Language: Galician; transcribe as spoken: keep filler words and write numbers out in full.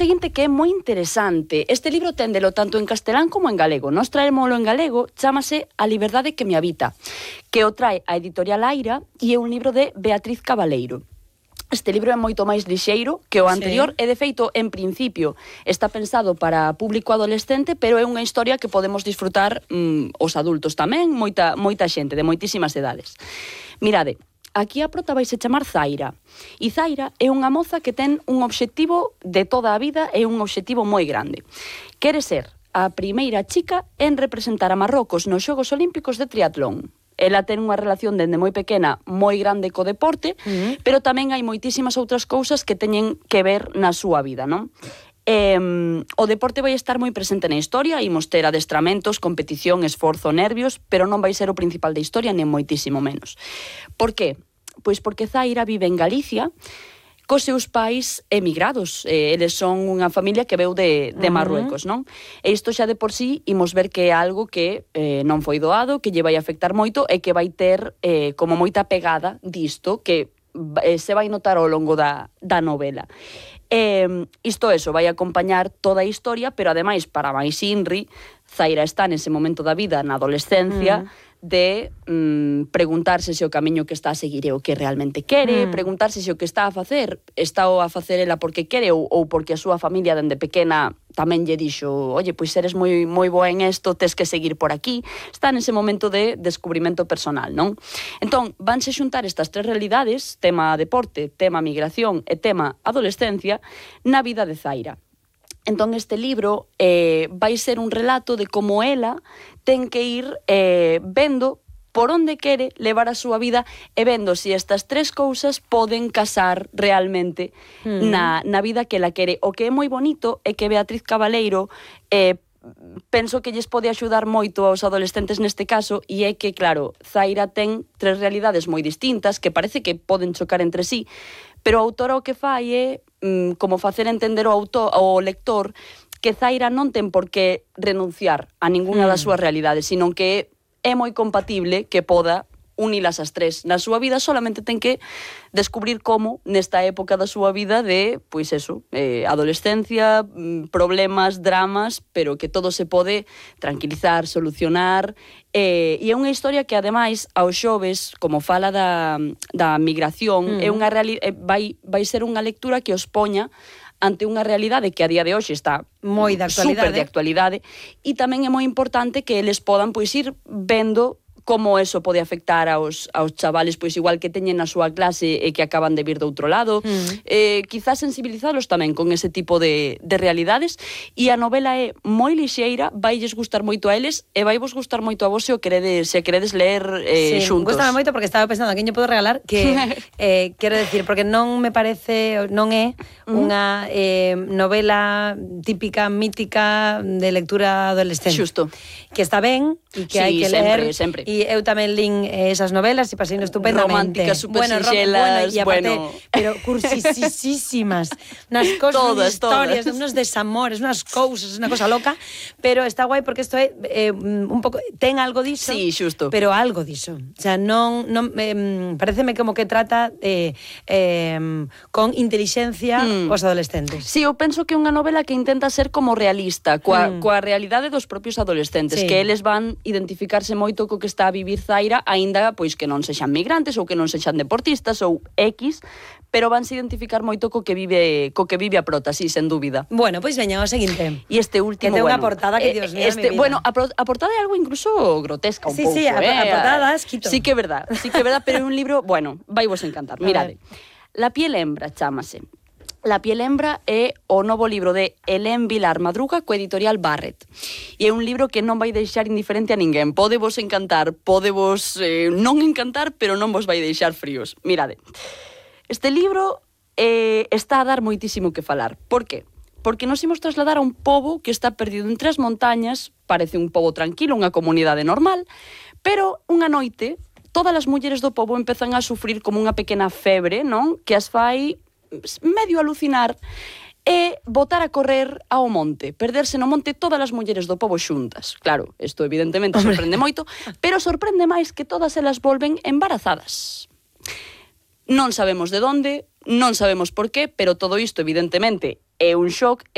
seguinte que é moi interesante. Este libro téndelo tanto en castelán como en galego. Nos traémoslo en galego, chámase A liberdade que me habita, que o trae a editorial Aira e é un libro de Beatriz Cabaleiro. Este libro é moito máis lixeiro que o anterior, sí. E de feito, en principio, está pensado para público adolescente, pero é unha historia que podemos disfrutar mm, os adultos tamén, moita, moita xente, de moitísimas edades. Mirade, aquí a prota vaise chamar Zaira. E Zaira é unha moza que ten un obxectivo de toda a vida e un obxectivo moi grande. Quere ser a primeira chica en representar a Marrocos nos Xogos Olímpicos de triatlón. Ela ten unha relación dende moi pequena moi grande co deporte, uh-huh. Pero tamén hai moitísimas outras cousas que teñen que ver na súa vida, non? Eh, o deporte vai estar moi presente na historia, imos ter adestramentos, competición, esforzo, nervios, pero non vai ser o principal da historia, nem moitísimo menos. Por qué? Pois porque Zaira vive en Galicia, cos seus pais emigrados. Eh, eles son unha familia que veu de, de Marruecos, non? E isto xa de por sí imos ver que é algo que eh, non foi doado, que lle vai afectar moito e que vai ter eh, como moita pegada disto, que eh, se vai notar ao longo da, da novela. Eh, isto eso, vai acompañar toda a historia, pero ademais, para máis inri, Zaira está nese momento da vida, na adolescencia, mm. de mm, preguntarse se o camiño que está a seguir é o que realmente quere, mm. preguntarse se o que está a facer está o a facer ela porque quere ou, ou porque a súa familia dende pequena tamén lle dixo, oye, pois eres moi moi boa en isto, tes que seguir por aquí. Está nese momento de descubrimento personal, non? Entón, vanse xuntar estas tres realidades, tema deporte, tema migración e tema adolescencia, na vida de Zaira. Entón, este libro eh, vai ser un relato de como ela ten que ir eh, vendo por onde quere levar a súa vida e vendo se estas tres cousas poden casar realmente mm. na, na vida que ela quere. O que é moi bonito é que Beatriz Cabaleiro eh, penso que lles pode axudar moito aos adolescentes neste caso, e é que, claro, Zaira ten tres realidades moi distintas que parece que poden chocar entre sí, pero a autora o que fai é mm, como facer entender ao, autor, ao lector que Zaira non ten por que renunciar a ninguna mm. das súas realidades, sino que é moi compatible que poda unilas as tres na súa vida, solamente ten que descubrir como nesta época da súa vida de, pois eso, eh, adolescencia, problemas, dramas, pero que todo se pode tranquilizar, solucionar, eh, e é unha historia que ademais aos xoves, como fala da, da migración, mm. é unha reali- eh, vai, vai ser unha lectura que os poña ante unha realidade que a día de hoxe está moi de actualidade, super de actualidade, e tamén é moi importante que eles podan pois ir vendo como eso pode afectar aos, aos chavales, pois igual que teñen na súa clase e que acaban de vir de outro lado, mm. eh, quizás sensibilizalos tamén con ese tipo de, de realidades, e a novela é moi lixeira, vailles gustar moito a eles e vai vos gustar moito a vos se o queredes, se queredes ler eh, sí, xuntos. Gústame moito porque estaba pensando a quen lle podo regalar, que eh, quero decir, porque non me parece, non é unha eh, novela típica, mítica de lectura adolescente. Xusto. Que está ben e que sí, hai que sempre, ler. Sempre. E eu tamén lín esas novelas e pasei estupendamente. Románticas, super bueno, sinxelas, bueno, e aparte, bueno. pero cursisísimas. Unas cosas, todas, unas historias, todas. unos desamores, unas cousas, unha cosa loca, pero está guai porque isto é eh, un pouco, ten algo diso. Sí, xusto. Pero algo diso. O sea, non, non eh, pareceme como que trata eh, eh, con intelixencia mm. os adolescentes. Sí, eu penso que é unha novela que intenta ser como realista, coa, mm. coa realidade dos propios adolescentes, sí. que eles van identificarse moito co que está a vivir Zaira, aínda pois que non sexan migrantes ou que non sexan deportistas ou X, pero vanse identificar moito co que vive co que vive a prota, sí, sen dúbida. Bueno, pois veña, o seguinte. E este último, que ten unha bueno, portada que, Dios mío, este, mi vida. Bueno, a, pro, a portada é algo incluso grotesca un sí, pouco, sí, a, eh? a portada das quito. Sí que é verdad, sí que é verdad, pero é un libro, bueno, vai vos encantar. Mirade. La piel hembra chámase. La piel hembra é o novo libro de Hélène Vilar Madruga co editorial Barret. E é un libro que non vai deixar indiferente a ninguén. Pode vos encantar, pode vos eh, non encantar, pero non vos vai deixar fríos. Mirade, este libro eh, está a dar moitísimo que falar. Por qué? Porque nos imos trasladar a un pobo que está perdido entre as montañas, parece un pobo tranquilo, unha comunidade normal, pero unha noite todas as mulleres do pobo empezan a sufrir como unha pequena febre, non? Que as fai medio alucinar e botar a correr ao monte, perderse no monte todas as mulleres do pobo xuntas. Claro, isto evidentemente sorprende moito, pero sorprende máis que todas elas volven embarazadas. Non sabemos de onde, non sabemos por qué, pero todo isto evidentemente é un shock.